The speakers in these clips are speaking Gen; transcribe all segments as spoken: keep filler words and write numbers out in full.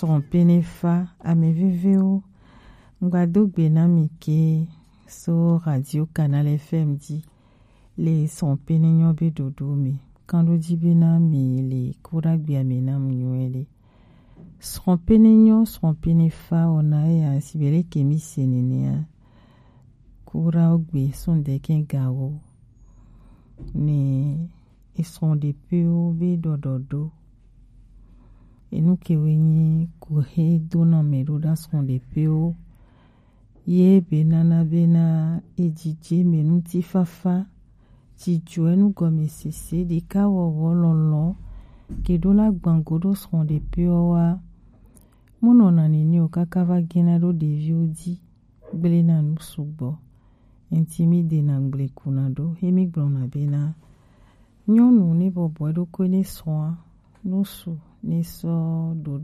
Srɔ̃pene fa, ame vevewo, ŋgbado gbe na mi ke so Radio Canal F M ji le srɔ̃pene nyɔ be ɖoɖo me. Kanɖo ji be na mi le kuɖagbe ame na mi nyuie ɖe. Srɔ̃pene nyɔ, srɔ̃pene fa wɔna ya si be leke mi se nenea. Kuɖawo gbe sɔn deke gawo ne esrɔ̃ɖeƒewo be ɖɔɖɔɖo. Enu kewoe nyi kuhe dona mɛ ɖo ɖa srɔ̃ɖeƒewo. Ye be nana bena ejije mɛ ŋutifafa, dzidzɔe, nugɔmesese, ɖekawɔwɔ, lɔlɔ, ke ɖo la gbango ɖo srɔ̃ɖeƒewo wa. Munɔna nene o kaka va gena ɖo ɖeviwo ji. Gblena nu sugbɔ. Enti mi dena gble kuna ɖo, he mi gblɔna bena, nyɔnu ne bɔbɔe ɖokui ne srɔ̃a, nusu ne sɔ ɖo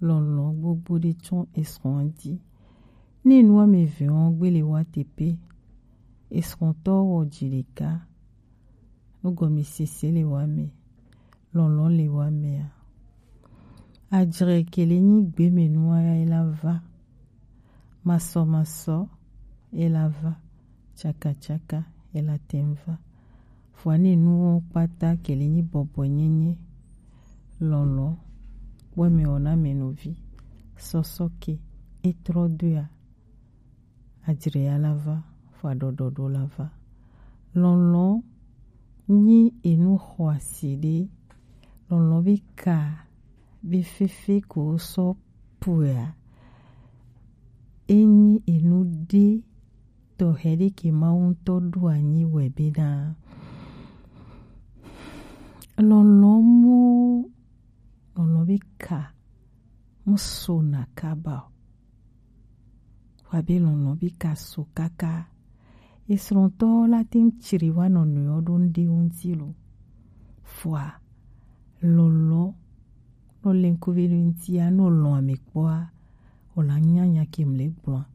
lɔlɔ gbogbo ɖe tsɔ esrɔ̃a ji. Ne nu ame eve wɔn gbe le wa teƒe, esrɔ̃tɔ wɔ dzi ɖeka, nugɔmesese le wa me, lɔlɔ le wa mea. Adzre ke le nyi gbe me nua ya ela va. Masɔmasɔ ela va. Tsakatsaka ela tem va. Fua ne nuwo kpata ke le nyi bɔbɔ nyenye. Lɔlɔ kpɔ me wɔna me novi. Sɔsɔ ke etrɔ doea. Adzre ya la va, fua ɖɔɖɔɖo la va. Lɔlɔ nyi enu xɔasi ɖe. Lɔlɔ be ka be fefe ko sɔ puea. Enyi enu ɖe tɔxɛ ɖe ke Mawu ŋutɔ ɖo anyi wɛ bena lɔlɔ mo, lɔlɔ be ka mo sona kaba o. Wa be lɔlɔ be ka so kaka. Esrɔ̃tɔ la te ŋu tsri wa nɔnɔewo ɖo ŋɖe ŋuti lo. Fua lɔlɔ nɔ le ŋkuvi ɖe ŋutia, nɔ lɔ̃ ame kpɔa, o la nya nya ke mle gblɔa.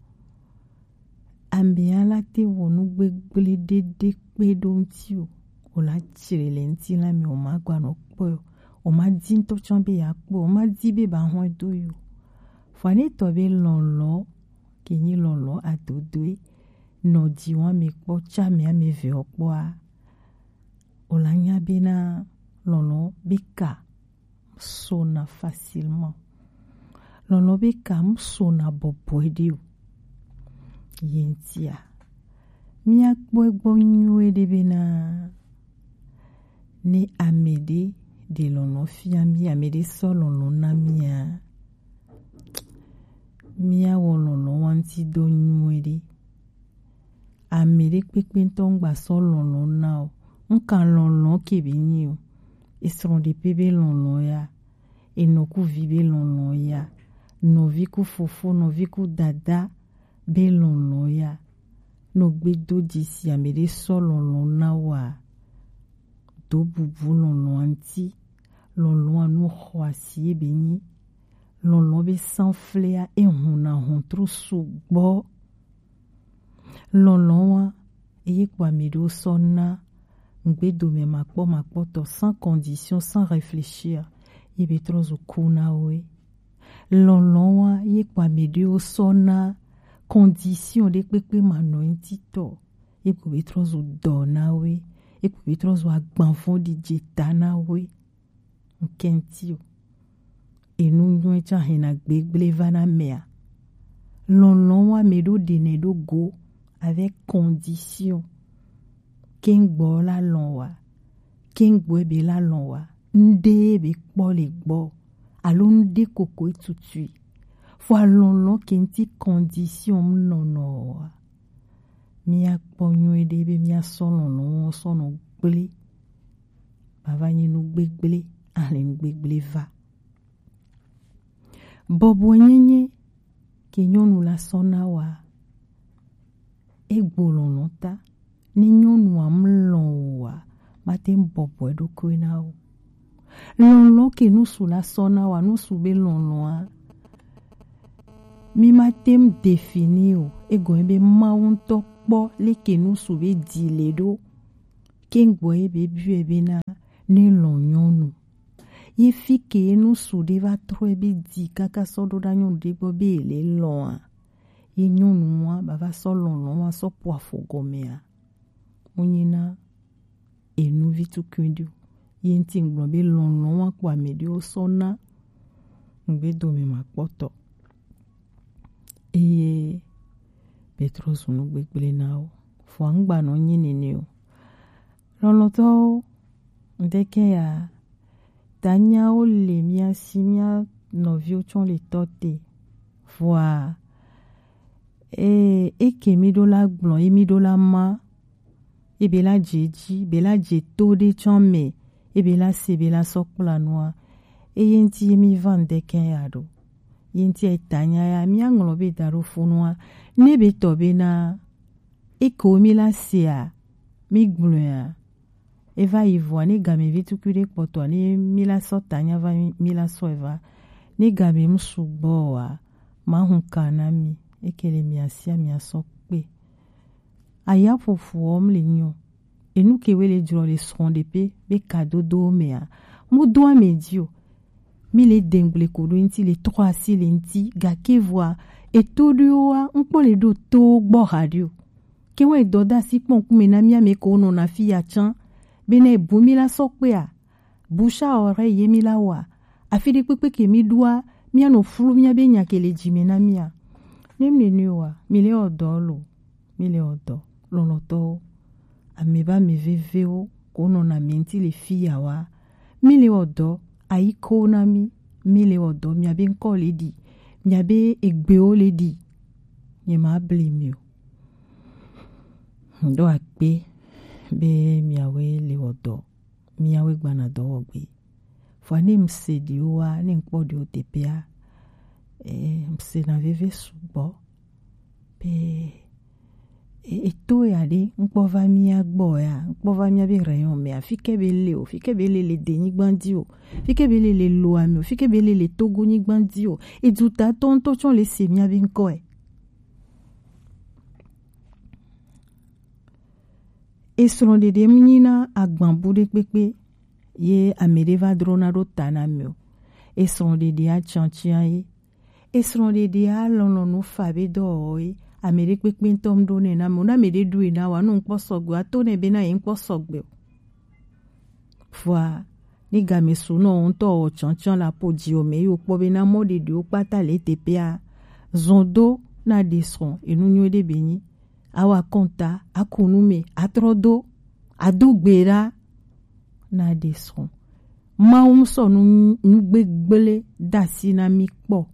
Amea la te wɔ nu gbegble ɖeɖe kpe ɖo ŋuti o. O la tsre le ŋuti la me, o ma gba nɔ kpɔe o. O ma di ŋutɔ tsã be ya kpɔe o. O ma di be ba hɔn do yi o. Fua ne tɔ be lɔlɔ, ke nyi lɔlɔ adodoe, nɔ dzi wa me kpɔ tsã me ame eve o kpɔa, o la nya be na lɔlɔ be ka sona facilement. Lɔlɔ be ka mu sona bɔbɔe ɖe o. Ye ŋutia, mía kpɔe gbɔ nyuie ɖe bena ne ame ɖe ɖe lɔlɔ fia mí, ame ɖe sɔ lɔlɔ na mía, mía wɔ lɔlɔ wa ŋuti dɔ nyuie ɖe. Ame ɖe kpekpe ŋutɔ ŋgba sɔ lɔlɔ na o. Ŋka lɔlɔ ke be nyi o. Esrɔ̃ɖeƒe be lɔlɔ ya. Enɔ ku vi be lɔlɔ ya. Nɔvi ku fofo, nɔvi ku dada be lɔlɔ ya. Nɔ gbe do dzi si ame ɖe sɔ lɔlɔ na wa. Do bubu lɔlɔ ŋuti. Lɔlɔ nu xɔasi ye be nyi. Lɔlɔ be sanflea ehun na hɔntru sugbɔ. Lɔlɔ wa eye kpɔ ame ɖewo sɔ na ŋgbedome makpɔ makpɔtɔ, sans condition, sans réfléchir, ye be trɔ zu ku na wo. Lɔlɔ wa ye kpɔ ame ɖewo sɔ na condition ɖe kpekpe ma nɔ ŋuti tɔ, ye kpɔ be trɔ zu dɔ na wo, ye kpɔ be trɔ zu agbanvɔn ɖi dze ta na wo. Ŋkɛntio. Enu nyuie tsã hɛna gbegble va na mea. Lɔlɔ wa me ɖo ɖe nɛ ɖo go avec condition. Kengbo la lɔn wa. Kengbo be la lɔn wa. Ŋɖe be kpɔ le gbɔ. Alo ŋɖe koko tutui. Fo alɔlɔ ke ŋti condition nɔnɔ wa. Mía kpɔ nyuie ɖe be mía sɔ lɔlɔ sɔ nɔ gble. Bava nyi nu gbegble, ale nu gbegble va. Bɔbɔenyenye ke nyɔnu la sɔ na wa, egbo lɔlɔ ta. Ne nyɔnua mu lɔn o wa, mate ŋu bɔbɔe ɖokui na o. Lɔlɔ ke nusu la sɔ na wa, nusu be lɔlɔa, mi mate ŋu définir o, egɔme be Mawu ŋutɔ kpɔ leke nusu be di le ɖo. Kengbo ye be biɔe bena ne lɔn nyɔnu. Ye fi ke ye nu su ɖe va trɔe be di kaka sɔ ɖo ɖa nyɔnu ɖe gbɔ be ye le lɔn a, ye nyɔnu wa ba va sɔ lɔn lɔn wa sɔ po afɔ gɔme a, mu nyi na enu vi tukui ɖi o. Ye ŋti ŋgblɔ be lɔn lɔn wa kpo ame ɖewo sɔ na ŋgbe dome ma kpɔtɔ. Eye Petro zu nu gbegble na wo. Vɔa ŋgba nɔ nyi nene o. Lɔlɔ̃tɔwo, ŋdeke ya, danyawo le mía si, mía nɔviwo tsɔ le tɔ te. Vɔa, e, eke mi ɖo la gblɔ, ye mi ɖo la ma, ebe la dze dzi, be la dze to ɖe tsɔ me, ebe la se, be la sɔ kpla nua, eye ŋti ye mi va ŋdeke ya ɖo. Ye ŋti etanya ya, mía ŋlɔ be da ɖo funua, ne be tɔ be na, eke wo mi la sea, mi gblɔea, eva yi vɔa, ne game vi tukui ɖe kpɔtɔa, ne mi la sɔ tanya va, mi, mi la sɔ eva, ne game mu sugbɔ wa, ma hun ka na mi, eke le mia sia mia sɔ kpe. Aya ƒoƒoɔ mle nyɔ. Enu ke we le jrɔ le srɔ̃ɖeƒe be kadodowo mea, mu do ame dzi o. Mi le dengble ko ɖo ŋti le trɔ asi le ŋti, gake vɔa, eto ɖoa, ŋkpɔ le ɖo to gbɔ haɖi o. Ke wɔ edɔ da asi kpɔ ŋkume na mía me ko nɔ na fi ya tsã. Be ne bu mi la sɔ kpea, bouche à oreille ye mi la wa. Afi ɖe kpekpe ke mi ɖoa, mía nɔ flu mía be nya ke le dzi me na mía. Ne mi ne wa, mi le ɔ dɔ lo, mi le ɔ dɔ, lɔlɔ̃tɔwo. Ame ba ame vevewo ko nɔ na mi ŋti le fi ya wa. Mi le ɔ dɔ, ayi ko na mi, mi le ɔ dɔ, mia be ŋkɔ le ɖi, mia be egbewo le ɖi. Nye ma bli mi o. Ŋɖo akpe be miawoe le ɔ dɔ. Miawoe gbana dɔ wɔ gbe. Vɔa ne ŋse ɖiwo wa, ne ŋkpɔ ɖiwo teƒea, e, ŋse na veve sugbɔ. Be, e, eto ya ɖe, ŋkpɔ va mía gbɔ ya, ŋkpɔ va mía be rayon mea, fi ke be le o, fi ke be le le de nyigba dzi o, fi ke be le le lo ame o, fi ke be le le Togo nyigba dzi o. Eduta tɔ ŋutɔ tsɔ le se mía be ŋkɔe. Esrɔ̃ɖeɖe mu nyi na agbanbu ɖe kpekpe ye ame ɖe va drona ɖo ta na mi o. Esrɔ̃ɖeɖe atsiatsiã ye. Esrɔ̃ɖeɖe alɔlɔ̃nu fa be dɔwɔwɔ ye. Ame ɖe kpekpe ŋutɔ mu ɖo nɛ na mi o. Na ame ɖe ɖu yi na wa, nu ŋkpɔ sɔgbe, ato nɛ be na ye ŋkpɔ sɔgbe o. Vɔa, ne game su nɔ ŋutɔ wɔ tsɔntsɔn la po dzi o me yi wokpɔ be na mɔ ɖeɖewo kpata le teƒea, zɔn do na ɖe srɔ̃ enu nyui ɖe be nyi. Awa kɔnta, aku nu me, atrɔ do, ado gbe ɖa na ɖe srɔ̃. Mawu ŋsɔ nu, nu gbegble da asi na mi kpɔ.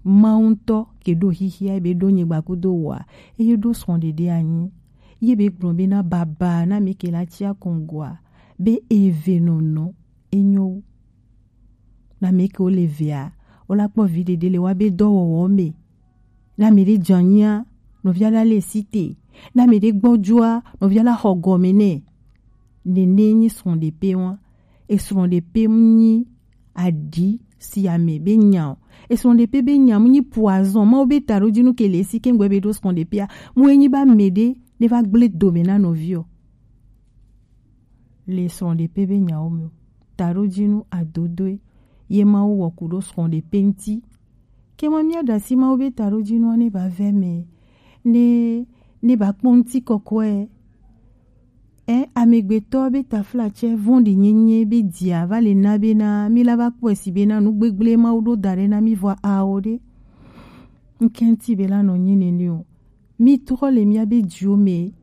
Mawu ŋutɔ ke ɖo xixia be ɖo nyigba kudo wa, eye ɖo srɔ̃ɖeɖe anyi. Ye be gblɔ be na baba na mi ke la tsia kɔngɔa, be eve nɔnɔ enyo wu. Na mi ke wo le vea, wo la kpɔ vi ɖeɖe le wa be dɔwɔwɔ me. Na mi ɖe dzanyia, nɔvia la le si te. Na mi ɖe gbɔdzɔa, nɔvia la xɔ gɔme nɛ. Nene nyi srɔ̃ɖeƒe wa. Esrɔ̃ ɖeƒe mu nyi aɖi si ame be nya o. Esrɔ̃ ɖeƒe be nya mu nyi poison. Mawu be taɖodzinu ke le esi ke ŋgbe be ɖo srɔ̃ ɖeƒea. Mu enyi ba me ɖe ne va gble dome na nɔvi o. Le srɔ̃ ɖeƒe be nyawo me o. Taɖodzinu adodoe ye Mawu wɔ ku ɖo srɔ̃ ɖeƒe ŋuti. Ke ma mía ɖe asi Mawu be taɖodzinua ne ba vɛ me, ne, ne ba kpɔ ŋuti kɔkɔe. Ɛ, amegbetɔ be taflatsɛ vɔ̃ɖi nyenye be dia va le na be na mi la va kpɔe si be na nu gbegble Mawu ɖo da ɖe na mi vɔ awo ɖe. Ŋkɛnti be la nɔ nyi nene o. Mi trɔ le mía be dziwo me.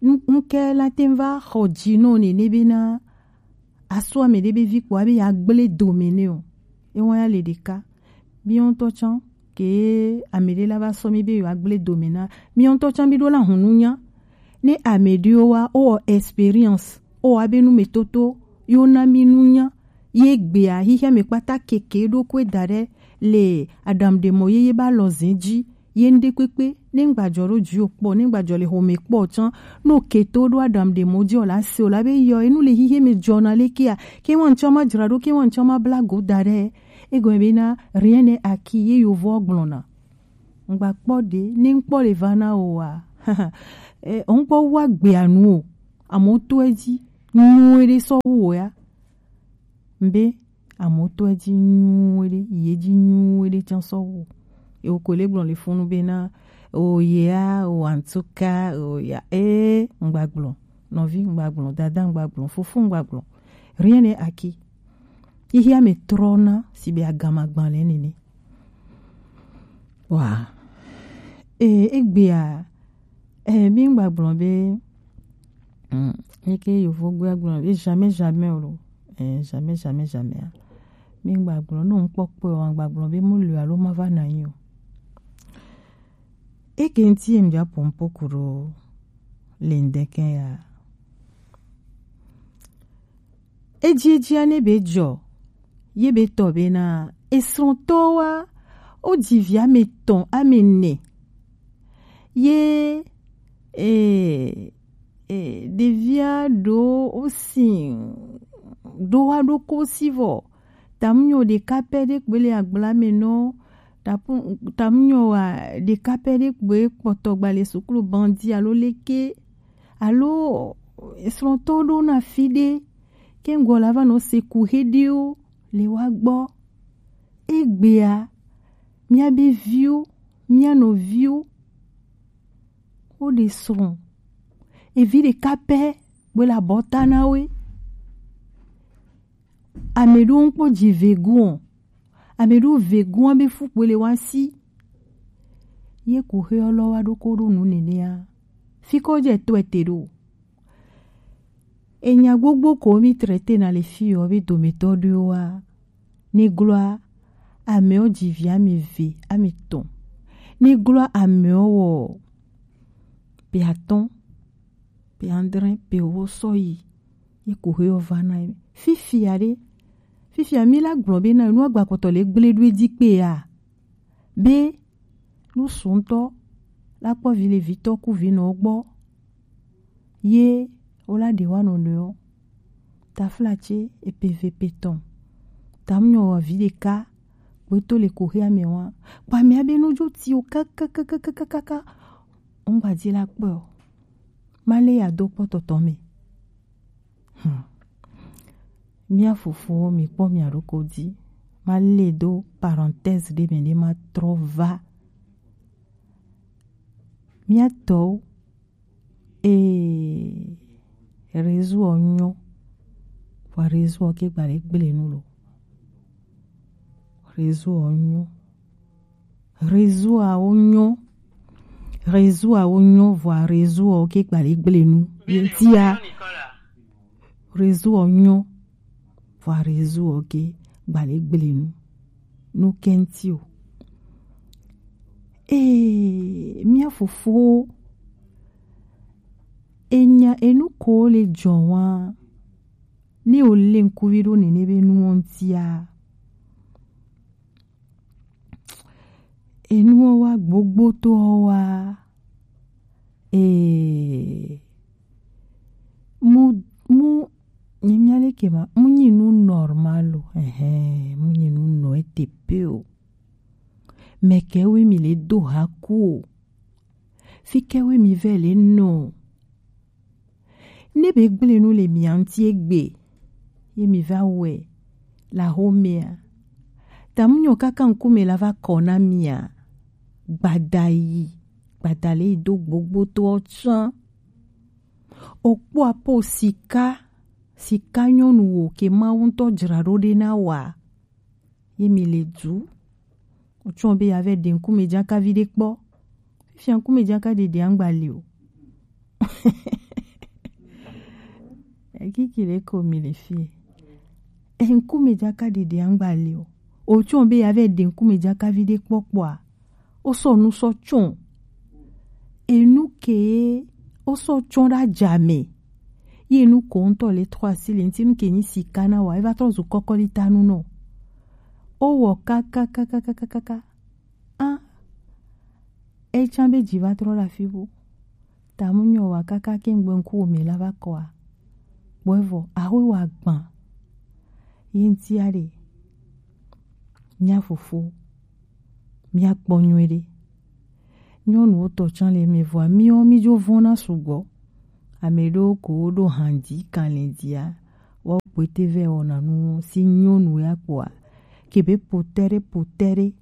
Ŋ-, ŋkɛ la te va xɔ dzi nɔ nene be na asɔ ame ɖe be vi kpɔ abe ya gble dome nɛ o. Ewa ya le ɖeka. Míawo ŋutɔ tsã ke ame ɖe la va sɔ mi be yewoa gble dome na. Míawo ŋutɔ tsã mi ɖo la hunu nya. Ne ame ɖewo wa, wowɔ experience, wowɔ abe numetoto, yewo na mi nunya. Ye gbea, xixia me kpata keke ɖo koe da ɖe le aɖaŋuɖemɔ yeye ba lɔ zẽ dzi. Ye ŋɖe kpekpe, ne ŋgbadzɔ ɖo dzi o kpɔ, ne ŋgbadzɔ le xome kpɔ tsã, no keto ɖo aɖaŋuɖemɔ dzi o la se o la be yɔ, enu le xixia me dzɔna lekea, ke wa ŋtsɔ ma dzra ɖo, ke wa ŋtsɔ ma bla go da ɖe. Egɔme be na rien n'est acquis ye yovoɔ gblɔna. Ŋgba kpɔ ɖe, ne ŋkpɔ le va na o wa. Eh, ŋkpɔ wa gbea nu o. Amewo to edzi, nyuie ɖe sɔ wu o ya. Mbe, Amewo tɔ edzi nyuie ɖe, yi edzi nyuie ɖe tsã sɔ wu. Ye wokɔe le gblɔ le funu bena, o yea, o en tout cas, o ya, ee, ŋgbagblɔ. Nɔvi ŋgbagblɔ, dada ŋgbagblɔ, fofo ŋgbagblɔ. Rien n'est acquis. Xixia me trɔna si be agama gbalẽ nene. Wa. E, egbea, e, mi ŋgbagblɔ be, mm, eke yovo gbea gblɔ be jamais, jamais o lo. E, jamais, jamais, jamais a. Mi ŋgbagblɔ, no ŋkpɔkpɔ wa ŋgbagblɔ be mo le alo ma va na yi o. Eke ŋti em ja pompo kuro le ŋdeke ya. Edziedzia ne be dzɔ, ye be tɔ bena, esrɔ̃tɔwoa, wodzi vi ame etɔ̃, ame ene. Ye, e, e, ɖevia ɖo wosi ɖo wa ɖo kosi vɔ. Tamunyɔ ɖeka pɛ ɖe kpoe le agbla me nɔ. Tapu-, tamunyɔ wa ɖeka pɛ ɖe kpoe kpɔtɔ gba le suklu bandi alo leke. Alo esrɔ̃tɔ ɖo na fi ɖe. Ke ŋgɔ la va nɔ se ku heɖewo le wa gbɔ. Egbea, mía be viwo, mía nɔviwo, wo ɖe srɔ̃. Evi ɖeka pɛ, gbe le abɔta na we. Ame ɖewo ŋkpɔ dzi vegun o. Ame ɖewo vegun be fu kpoe le wa si. Ye ku xe ɔlɔ wa ɖo ko ɖo nu nenea. Fi ko dze to ete ɖo. Enya gbogbo ko mi traité na le fi yɔ be dometɔ ɖewoa, ne gloa, amewo dzi vi ame eve, ame etɔ̃. Ne gloa amewo wɔ pe atɔ̃, pe adre, pe ewo sɔ yi, ye ko xe yɔ va na ye. Fifia ɖe, fifia mi la gblɔ be na nu agbakɔtɔ le gble ɖo edzi kpea, be nu suŋtɔ la kpɔ vi le vitɔ ku vi nɔ gbɔ. Ye wo la ɖe wa nɔnɔewo. Taflatse epe ve pe tɔn. Tamunyɔ wa vi ɖeka. Kpoe to le ko xea me wa. Kpa mia be nu dzo ti o kakakakakaka. Ŋgba dzi la kpɔ o. Ma le ya do kpɔ tɔtɔ me. Hmm. Mía fofowo, mi kpɔ mia ɖokɔ dzi. Ma le do parenthèse ɖe me ɖe ma trɔ va. Mía tɔwo, ee, réseau ɔ nyɔ. Vɔ réseau ɔ ke gba le gble nu lo. Réseau ɔ nyɔ. Réseau awo nyɔ. Réseau awo nyɔ, vɔa réseau ɔ ke gba le gble nu. Ye tia. Réseau ɔ nyɔ. Vɔa réseau ɔ ke gba le gble nu. Nu kɛnti o. Ee, mía fofowo. Enya enu ko le jɔ wa. Ne o le ŋkuvi ɖo nene be nu ɔ ŋtia. Enuwo wa gbogbo to wa. Ee, mu, mu, ni mia le ke ma, mu nyi nu normal o. Ɛhɛn, mu nyi nu nɔ ete pe o. Mɛ kɛ we mi le do ha ku o. Fi kɛ we mi vɛ le nɔ. Ne be gble nu le mia ŋti egbe, ye mi va wɛ la xomea. Tamunyɔ kaka ŋkume la va kɔ na mia. Gbada yi, gbada le yi do gbogbo to ɔ tsã. O kpɔ apo sika, sika nyɔnu wo ke Mawu ŋutɔ dzra ɖo ɖe na wa. Ye mi le du. Otsɔ be ya vɛ ɖe ŋkume dzakavi ɖe kpɔ. Fifia ŋkume dzaka ɖeɖe aŋgba li o. Ekiki ɖe ko mi le fie. E ŋkume dzaka ɖeɖe aŋgba li o. Otsɔ be ya vɛ ɖe ŋkume dzakavi ɖe kpɔ kpɔa. O sɔ nu sɔ tsɔ. Enu ke o sɔ tsɔ ɖa dza me. Ye nu ko ŋutɔ le trɔ asi le ŋti nu ke nyi sika na wa, e va trɔ zu kɔkɔlita nu nɔ. O wɔ kakakakakakaka. A, e tsã be dzi va trɔ ɖe afi bu. Tamunyɔ wa kaka ke ŋgbe ŋku wo me la va kɔa. Kpɔe vɔ, aho wa gbã. Ye ŋtia ɖe. Mía fofo. Mía kpɔ nyuie ɖe. Nyɔnuwo tɔ tsã le me vɔa, míwo mí dzo vɔna sugbɔ. Ame ɖewo ko wo ɖo hanji kanlɛ dia. Wa kpete vɛ wɔna nu si nyɔnu ya kpoa, ke be potɛre, potɛre,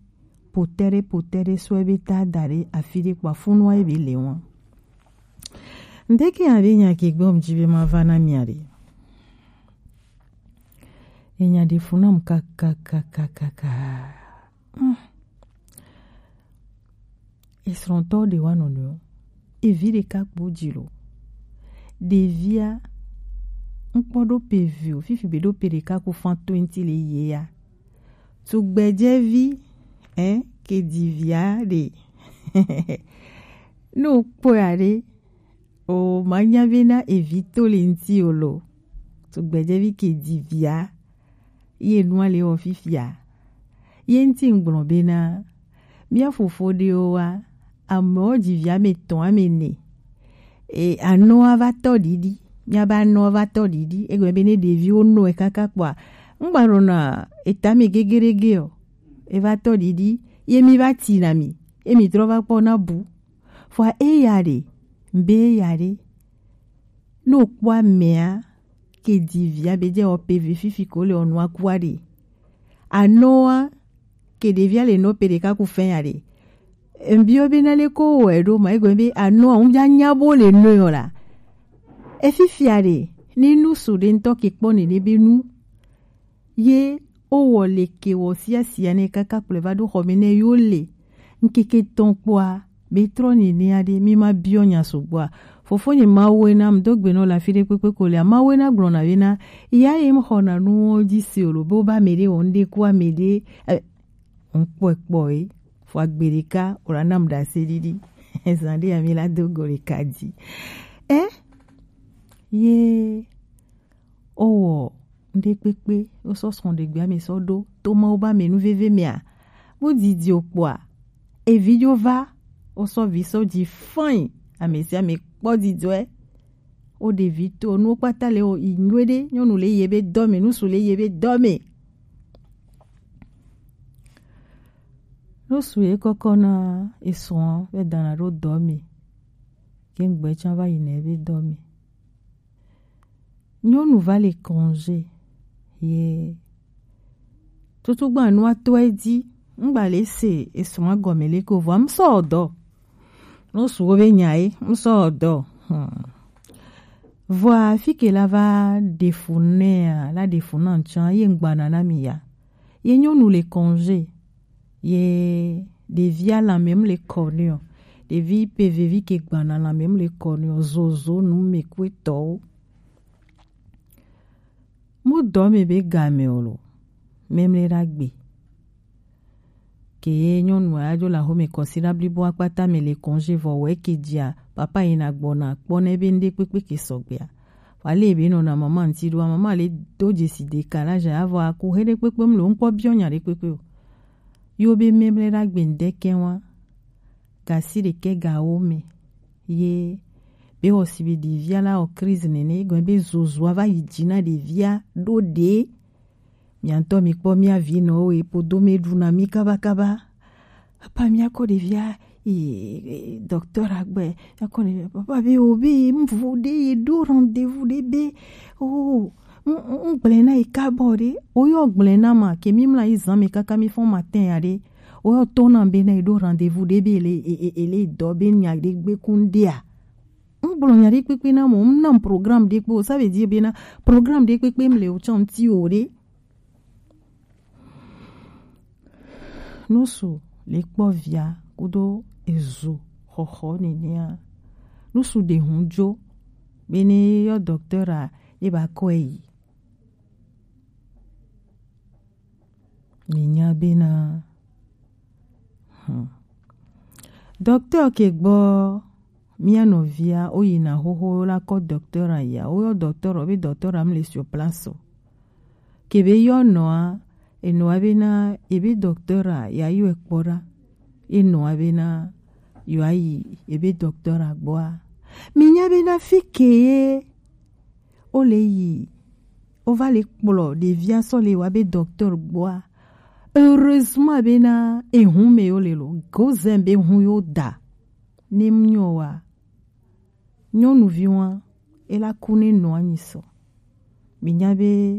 potɛre, potɛre sɔ ebe ta da ɖe afi ɖe kpoa funu wa ebe le wɔn. Ndeke ya be nya ke gbɔ mu ji be ma va na mia ɖe. Enya ɖe fu nam kakakakakaka. Hmm. Esrɔ̃tɔ ɖe wa nɔnɔewo. Evi ɖeka kpo dzi lo. Ɖevia, ŋkpɔ ɖo pe vi o, fifi be ɖo pe ɖeka ku fan twenty le ye ya. Tugbɛjɛvi, eh, ke di via ɖe. Ne wokpɔe ya ɖe, o ma nya bena evi to le ŋti o lo. Tugbɛjɛvi ke di via, ye nua le wɔ fifia. Ye ŋti ŋgblɔ bena, mia fofo ɖewo wa, amewo dzi vi ame etɔ̃, ame ene. E, anɔa va tɔ ɖiɖi. Miabe anɔa va tɔ ɖiɖi. Egɔme be ne ɖeviwo nɔe kaka kpɔa, ŋgba nɔna etame gegeɖege o. Eva tɔ ɖiɖi. Ye mi va ti na mi. Ye mi trɔ va kpɔ na bu. Vɔa eya ɖe, mbe eya ɖe. Ne wokpɔ amea, ke di via be dze wɔ pe vi fifi ko le wɔ nua kua ɖe. Anɔa, ke ɖevia le nɔ pe ɖeka ku fɛn ya ɖe. Mbiɔ be na le ko wɔ eɖo ma, egɔme be anɔa, ŋu bia nya bo le nɔ yɔ la. Efifia ɖe, ni nu su ɖe ŋtɔ ke kpɔ ne ɖe be nu. Ye wowɔ le ke wɔ sia sia ne kaka kplɔe va ɖo xɔ me ne yo le. Ŋkeke tɔn kpɔa, be trɔ ni ne aɖe, mi ma biɔ nya sugbɔa. Fofo nye Mawu ena, m do gbe nɔ le afi ɖe kpekpe ko lea, Mawu ena gblɔ na be na, ya ye m xɔ na nu wo dzi si o lo, be wo ba me ɖe wɔ ŋɖe ku ame ɖe, eh, ŋkpɔe kpɔ ye, fɔ agbe ɖeka, o la nam ɖase ɖiɖi. Zan ɖe ya mi la do go ɖeka dzi. Eh? Ye wowɔ ŋɖe kpekpe, wosɔ srɔ̃ɖegbea me sɔ ɖo to Mawu ba me nu veve mea, mu didi o kpɔa, evi dzo va, wosɔ vi sɔ dzi fain, ame sia ame kpɔ didɔe. Wo ɖevi to nuwo kpata le wo yi nyuie ɖe, nyɔnu le ye be dɔ me, nusu le ye be dɔ me. Nusu ye kɔkɔ na esrɔ̃ be dana ɖo dɔ me, ke ŋgbɛ tsã va yi na ebe dɔ me. Nyɔnu va le congé ye tutugbã nua tɔe dzi, ŋgba le se esrɔ̃a gɔme le ko vɔa, ŋsɔ dɔ. Nusuwo be nya ye, ŋsɔ dɔ. Hmm. Vɔa fi ke la va ɖe fu nɛa, la ɖe fu na ŋtsã, ye ŋgbana na mi ya. Ye nyɔnu le congé. Ye ɖevia lanmɛ mu le kɔ nɛ o. Ɖevi pe vevi ke gbana lanmɛ mu le kɔ nɛ o. Zozo nu me kue tɔwo. Mu dɔ me be game o lo. Memle ɖagbe. Ke ye nyɔnu a dzo le axome kɔsiɖa blibo akpata me le congé vɔ wɛ ke dzia, papa yina gbɔna kpɔ ne be ŋɖe kpekpe ke sɔgbea. Wa le be nɔna mama ŋti ɖoa, mama le do dzesi de ka la ja avɔ aku he ɖe kpekpe mu le ŋkpɔ biɔ nya ɖe kpekpe o. Yo be memle ɖagbe ŋɖe kɛ wa. Gasi ɖekɛ ga wo me. Ye be wɔ si be ɖevia la wɔ crise nene, gɔme be zozua va yi dzi na ɖevia ɖo ɖe. Mia ŋutɔ mi kpɔ mia vi nɔwo ye podo me ɖuna mi kabakaba. Papa mia kɔ ɖevia yi, eh, docteur agbɛ, mia kɔ ɖevia, papa be o be ye mvu ɖe ye ɖo rendez-vous ɖe be, oh, ŋgblẽ na ye kabɔ ɖe, o yɔ gblẽ na ma, ke mi mla yi zan me kaka mi fɔn matin ya ɖe, o yɔ to na be na ye ɖo rendez-vous ɖe be ele, e, e, ele dɔ be nya ɖe gbe kun ɖea. Ŋgblɔ nya ɖe kpekpe na mo, ŋna programme ɖe kpe o, ça veut dire be na programme ɖe kpekpe mle o tsɔ ŋti o ɖe. Nusu le kpɔ via kudo ezo xɔxɔ nenea. Nusu ɖe hun jo. Be ne yɔ docteur a, ye ba kɔe yi. Mi nya be na, hmm. Docteur ke gbɔ, mia nɔvia, wo yina xoxo la kɔ docteur a ya. Wo yɔ docteur o, be docteur a mle sur place o. Ke be yɔ nɔa, enɔa be na, ebe docteur a ya yɔ ekpɔ ɖa. Enɔa be na, yɔ ayi, ebe docteur a gbɔa. Mi nya be na fi ke ye, o le yi, o va le kplɔ ɖevia sɔ le wa be docteur gbɔa. Heureusement be na ehun me yo le lo, gozɛn be hun yo da. Ne mu nyɔ wa, nyɔnuvi wa, e la ku ne nɔ anyi sɔ. Mi nya be